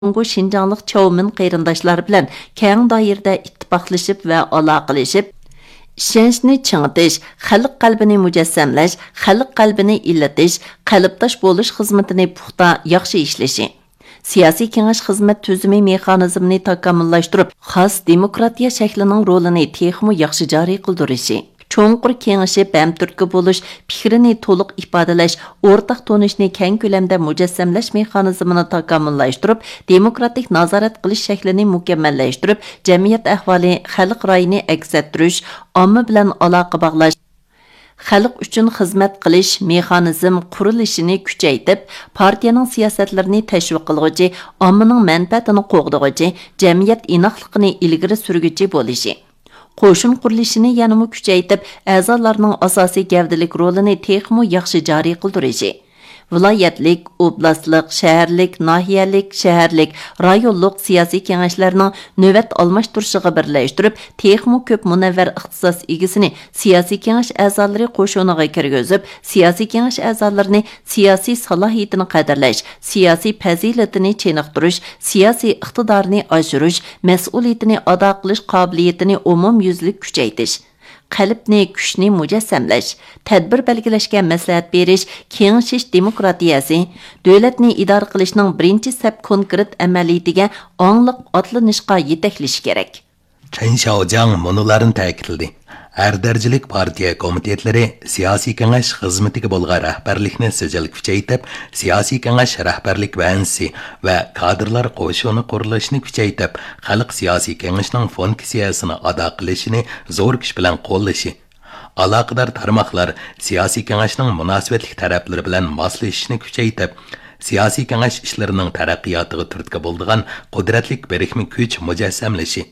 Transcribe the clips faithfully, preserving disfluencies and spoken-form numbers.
جۇڭگو شىنجاڭلىق چاۋمىن قېرىنداشلار بىلەن كەڭ دائىرىدە ئىتتىپاقلىشىپ ۋە ئالاقىلىشىپ، ئىشەنچنى چىڭىتىش، خەلق قەلبىنى مۇجەسسەملەش، خەلق قەلبىنى ئىللىتىش، قەلبداش بولۇش خىزمىتىنى پۇختا، ياخشى ئىشلىشى، سىياسىي كېڭەش خىزمەت تۈزۈمى مېخانىزمىنى تاكامۇللاشتۇرۇپ، خاس دېموكراتىيە شەكلىنىڭ رولىنى تېخىمۇ ياخشى جارى قىلدۇرۇشى، چوڭقۇر كېڭىشىپ، ھەمتۈرتكە بولۇش، پىكرىنى تولۇق ئىپادىلەش، ئورتاق تونۇشنى كەڭ كۆلەمدە مۇجەسسەملەش مېخانىزمىنى تاكامۇللاشتۇرۇپ، دېموكراتىك نازارەت قىلىش شەكلىنى مۇكەممەللەشتۈرۈپ، جەمئىيەت ئەھۋالى، خەلق رايىنى ئەكس ئەتتۈرۈش، ئامما بىلەن ئالاقە باغلاش، خەلق ئۈچۈن خىزمەت قىلىش مېخانىزم قۇرۇلۇشىنى كۈچەيتىپ، پارتىيەنىڭ سىياسەتلىرىنى تەشۋىق قىلغۇچى، ئاممىنىڭ مەنپەئەتىنى قوغدىغۇچى، جەمئىيەت ئىناقلىقىنى ئىلگىرى سۈرگۈچى بولۇشى، قوشۇن قۇرۇلۇشىنى يەنىمۇ كۈچەيتىپ، ئەزالارنىڭ ئاساسىي گەۋدىلىك رولىنى تېخىمۇ ياخشى جارى قىلدۇرۇشى، ۋىلايەتلىك، ئوبلاستلىق، شەھەرلىك، ناھىيەلىك، شەھەرلىك، رايونلۇق سىياسىي كېڭەشلەرنىڭ نۆۋەت ئالماشتۇرۇشىغا بىرلەشتۈرۈپ، تېخىمۇ كۆپ مۇنەۋۋەر ئىختىساس ئىگىسىنى سىياسىي كېڭەش ئەزالىرى قوشۇنىغا كىرگۈزۈپ، سىياسىي كېڭەش ئەزالىرىنى سىياسىي سالاھىيىتىنى قەدىرلەش، سىياسىي پەزىلىتىنى چېنىقتۇرۇش، سىياسىي ئىقتىدارىنى ئاشۇرۇش، مەسئۇلىيىتىنى ئادا قىلىش قابىلىيىتىنى ئومۇميۈزلۈك كۈچەيتىش، قەلبنى، كۈچنى مۇجەسسەملەش، تەدبىر بەلگىلەشكە مەسلىھەت بېرىش، كېڭىشىش دېموكراتىيەسى، دۆلەتنى ئىدارە قىلىشنىڭ بىرىنچى سەپ كونكرېت ئەمەلىيىتىگە ئاڭلىق ئاتلىنىشقا يېتەكلىشى كېرەك. چېن شياۋجياڭ مۇنۇلارنى تەكىتلىدى: ھەر دەرىجىلىك پارتىيە كومىتېتلىرى سىياسىي كېڭەش خىزمىتىگە بولغان رەھبەرلىكنى سىجىل كۈچەيتىپ، سىياسىي كېڭەش رەھبەرلىك بەنزىسى ۋە كادىرلار قوشۇنى قۇرۇلۇشىنى كۈچەيتىپ، خەلق سىياسىي كېڭىشىنىڭ فۇنكسىيەسىنى ئادا قىلىشىنى زور كۈچ بىلەن قوللىشى، ئالاقىدار تارماقلار سىياسىي كېڭەشنىڭ مۇناسىۋەتلىك تەرەپلىرى بىلەن ماسلىشىشنى كۈچەيتىپ، سىياسىي كېڭەش ئىشلىرىنىڭ تەرەققىياتىغا تۈرتكە بولىدىغان قۇدرەتلىك بىرىكمە كۈچ مۇجەسسەملىشى،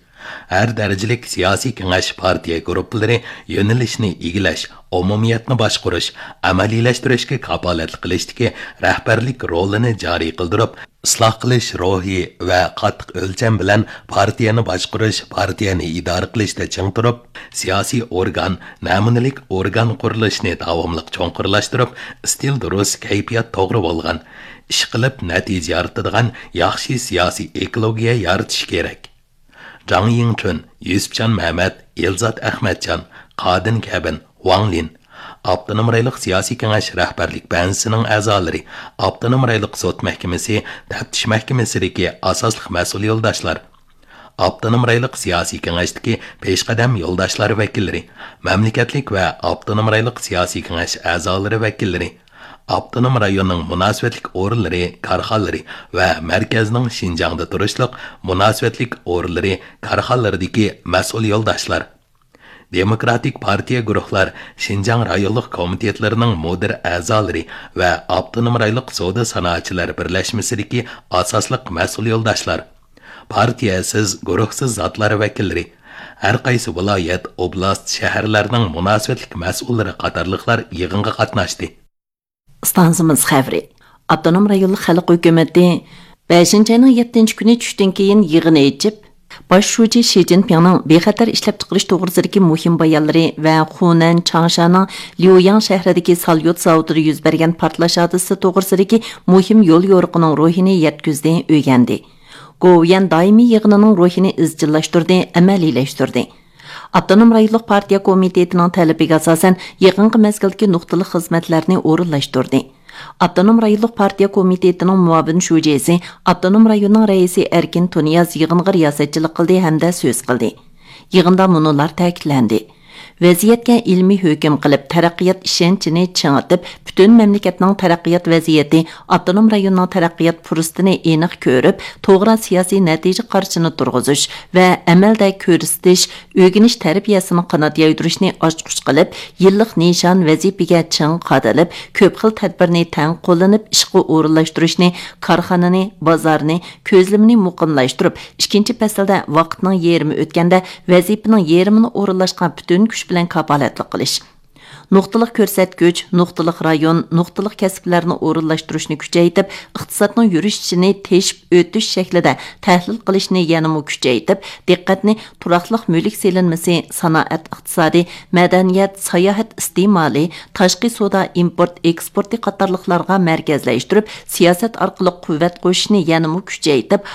ھەر دەرىجىلىك سىياسىي كېڭەش پارتىيە گۇرۇپپىلىرى يۆنىلىشنى ئىگىلەش، ئومۇمىيەتنى باشقۇرۇش، ئەمەلىيلەشتۈرۈشكە كاپالەتلىك قىلىشتىكى رەھبەرلىك رولىنى جارى قىلدۇرۇپ، ئىسلاھ قىلىش روھى ۋە قاتتىق ئۆلچەم بىلەن پارتىيەنى باشقۇرۇش، پارتىيەنى ئىدارە قىلىشتا چىڭ تۇرۇپ، سىياسىي ئورگان، نەمۇنىلىك ئورگان قۇرۇلۇشىنى داۋاملىق چوڭقۇرلاشتۇرۇپ، ئىستىل دۇرۇس، كەيپىيات توغرا بولغان، ئىشقىلىپ نەتىجە يارىتىدىغان ياخشى سىياسىي ئېكولوگىيە يارىتىش كېرەك. جاڭ يىڭچۈن، يۈسۈپجان مەمەت، ئېلزات ئەخمەتجان، قادىن كەبىن، ۋاڭ لىن. ئاپتونوم رايونلۇق سىياسىي كېڭەش رەھبەرلىك بەنزىسىنىڭ ئەزالىرى، ئاپتونوم رايونلۇق سوت مەھكىمىسى، تەپتىش مەھكىمىسىدىكى ئاساسلىق مەسئۇل يولداشلار، ئاپتونوم رايونلۇق سىياسىي كېڭەشتىكى پېشقەدەم يولداشلار ۋەكىللىرى، مەملىكەتلىك ۋە ئاپتونوم رايونلۇق سىياسىي كېڭەش ئەزالىرى ۋەكىللىرى، ئاپتونوم رايوننىڭ مۇناسىۋەتلىك ئورۇنلىرى، كارخانىلىرى ۋە مەركەزنىڭ شىنجاڭدا تۇرۇشلۇق مۇناسىۋەتلىك ئورۇنلىرى، كارخانىلىرىدىكى مەسئۇل يولداشلار، دېموكراتىك پارتىيە گۇرۇھلار، شىنجاڭ رايونلۇق كومىتېتلىرىنىڭ مۇدىر ئەزالىرى ۋە ئاپتونوم رايونلۇق سودا سانائەتچىلەر بىرلەشمىسىدىكى ئاساسلىق مەسئۇل يولداشلار، پارتىيەسىز، گۇرۇھسىز زاتلار ۋەكىللىرى، ھەر قايسى ۋىلايەت، ئوبلاست، شەھەرلەرنىڭ مۇناسىۋەتلىك مەسئۇللىرى قاتارلىقلار يىغىنغا قاتناشتى. ئىستانسىمىز خەۋىرى. ئاپتونوم رايونلۇق خەلق ھۆكۈمىتى بەشىنچى ئاينىڭ يەتتىنچى كۈنى چۈشتىن كېيىن يىغىن ئېچىپ، باش شۇجى شى جىنپىڭنىڭ بىخەتەر ئىشلەپچىقىرىش توغرىسىدىكى مۇھىم بايانلىرى ۋە خۇنەن، چاڭشانىڭ ليۇياڭ شەھىرىدىكى ساليۇت زاۋۇتىدا يۈز بەرگەن پارتلاش ھادىسىسى توغرىسىدىكى مۇھىم يول يورۇقىنىڭ روھىنى يەتكۈزدى، ئۆگەندى. گوۋۇيۈەن دائىمىي يىغىنىنىڭ روھىنى ئىزچىللاشتۇردى، ئەمەلىيلەشتۈردى. ئاپتونوم رايونلۇق پارتىيە كومىتېتىنىڭ تەلىپىگە ئاساسەن، يېقىنقى مەزگىلدىكى نۇقتىلىق خىزمەتلەرنى ئورۇنلاشتۇردى. ئاپتونوم رايونلۇق پارتىيە كومىتېتىنىڭ مۇئاۋىن شۇجىسى، ئاپتونوم رايوننىڭ رەئىسى ئەركىن تۇنىياز يىغىنغا رىياسەتچىلىك قىلدى ھەمدە سۆز قىلدى. يىغىندا مۇنۇلار تەكىتلەندى: ۋەزىيەتكە ئىلمىي ھۆكۈم قىلىپ، تەرەققىيات ئىشەنچىنى چىڭىتىپ، پۈتۈن مەملىكەتنىڭ تەرەققىيات ۋەزىيىتى، ئاپتونوم رايوننىڭ تەرەققىيات پۇرسىتىنى ئېنىق كۆرۈپ، توغرا سىياسىي نەتىجە قارىشىنى تۇرغۇزۇش ۋە ئەمەلدە كۆرسىتىش، ئۆگىنىش تەربىيەسىنى قانات يايدۇرۇشنى ئاچقۇچ قىلىپ، يىللىق نىشان ۋەزىپىگە چىڭ قادىلىپ، كۆپ خىل تەدبىرنى تەڭ قوللىنىپ ئىشقا ئورۇنلاشتۇرۇشنى، كارخانىنى، بازارنى، كۆزلىمىنى مۇقىملاشتۇرۇپ، ئىككىنچى پەسىلدە ۋاقىتنىڭ يېرىمى ئۆتكەندە ۋەزىپىنىڭ يېرىمىنى ئورۇنلاشقا پۈتۈن كۈچ بىلەن كاپالەتلىك قىلىش. نۇقتىلىق كۆرسەتكۈچ، نۇقتىلىق رايون، نۇقتىلىق كەسىپلەرنى ئورۇنلاشتۇرۇشنى كۈچەيتىپ، ئىقتىسادنىڭ يۈرۈشۈشىنى تېشىپ ئۆتۈش شەكلىدە تەھلىل قىلىشنى يەنىمۇ كۈچەيتىپ، دىققەتنى تۇراقلىق مۈلۈك سېلىنمىسى، سانائەت ئىقتىسادى، مەدەنىيەت، ساياھەت ئىستېمالى، تاشقى سودا ئىمپورت ئېكسپورتى قاتارلىقلارغا مەركەزلەشتۈرۈپ، سىياسەت ئارقىلىق قۇۋۋەت قوشۇشنى يەنىمۇ كۈچەيتىپ،